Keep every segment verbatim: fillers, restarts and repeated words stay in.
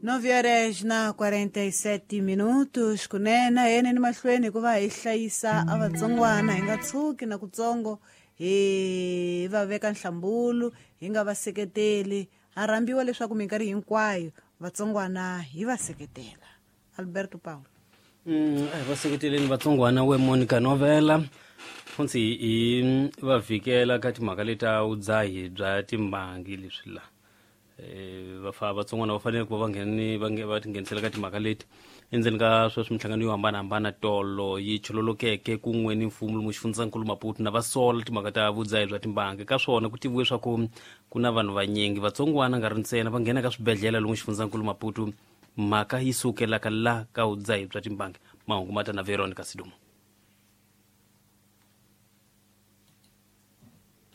Nove horas na quarenta e sete minutos kunene yeneni mahlweni hikuva hi hlayisa a vatsongwana hi nga tshuki na kutsongo hi va veka nhlambulu hi nga va seketeli ha rhambiwa leswaku minkarhi hinkwayo vatsongwana hi va seketela. Alberto Paulo. Mm, a hi va seketeleni vatsongwana we Monica Novela funtsi hi va vhikela ka timhaka leta vudzahi bya timbangi leswi la eh va vatsongwana va fanele ku va va ngheni va nge va tinghenisela ka timhaka leti endzeni ka sweswi minhlangano yo hambanahambana tolo yi chololokeke kun'we ni mfumo lomu xifundzankulu Maputo na va sola timhaka ta vudzahi bya timbangi ka swona ku tiviwe swa ku ku na vanhu vanyingi vatsongwana nga ri ntsena va nghena ka swibedhlele lomu xifundzankulu Maputo mhaka yi sukelaka la ka vudzahi bya timbangi. Mahungu ma ta na Veronica Sidumo.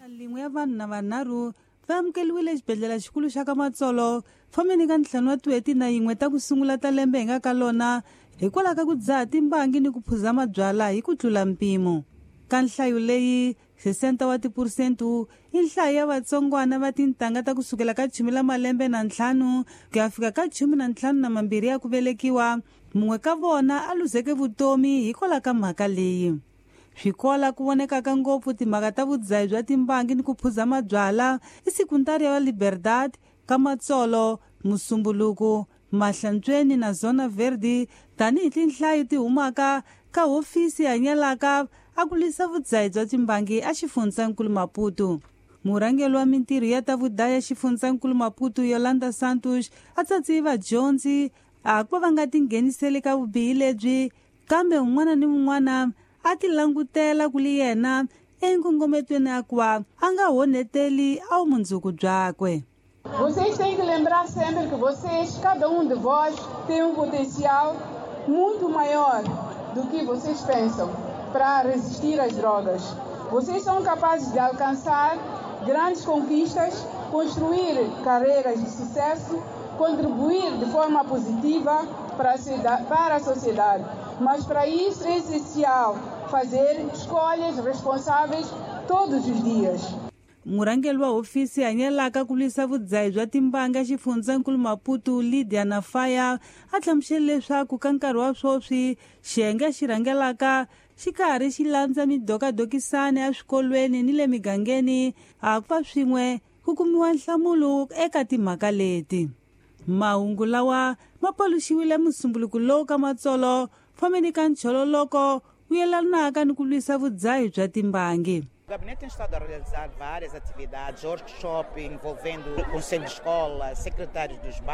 Lin'we ya vanhu na vanharhu va amukeriwile xibedhlele xikulu xa ka Matsolo fomeni ka ntlhanu wa tin'hweti na yin'we ta ku sungula ta lembe hi nga ka lona hikwalaho ka ku dzaha timbangi ni ku phuza mabyala hi ku tlula mpimo. Ka nhlayo leyi sesenta wa tiphurusente i nhlayo ya vatsongwana va tintangha ta kusukela ka chumi la malembe na ntlhanu ku ya fika ka chumi na ntlhanu na mambirhi ya ku velekiwa, mun'we ka vona a luzeke vutomi hikwalaho ka mhaka leyi. Swikola ku vonekaka ngopfu timhaka ta vudzahi bya timbangi ni ku phuza mabyala i sekundari ya Liberdade ka Matsolo, Musumbuluku, Mahlantsweni na Zona Verde tanihi tinhlayo ti humaka ka hofisi hanyelaka a ku lwisa vudzahi bya timbangi a xifundzankulu Maputo. Murhangeri wa mintirho ya ta vudaya xifundzankulu Maputo Yolanda Santos a tsatsi vadyondzi a ku va nga tingheniseli ka vubihi lebyi kambe un'wana ni un'wana a ti langutela ku li yena enkongometweni ya ku va a nga honeteli a vumundzuku byakwe. Vocês têm que lembrar sempre que vocês, cada um de vós, tem um potencial muito maior do que vocês pensam para resistir às drogas. Vocês são capazes de alcançar grandes conquistas, construir carreiras de sucesso, contribuir de forma positiva para a, para a sociedade. Mas para isso é essencial fazer escolhas responsáveis todos os dias. Murhangeri wa hofisi hanyelaka ku lwisa vudzahi bya timbanga xifundzankulu Maputo Lydia Nafaya a hlamusele leswaku ka nkarhi wa sweswi xiyenge xi rhangelaka xi karhi xi landza midokadokisana ya swikolweni ni le migangeni a ku va swin'we ku kumiwa nhlamulo eka timhaka leti. Mahungu lawa ma paluxiwile musumbuluku lowu ka Matsolo fomeni ka nchololoko wu yelanaka ni ku lwisa vudzahi bya timbangi. O gabinete tem estado a realizar várias atividades, workshops envolvendo o conselho de escola, secretários dos bairros.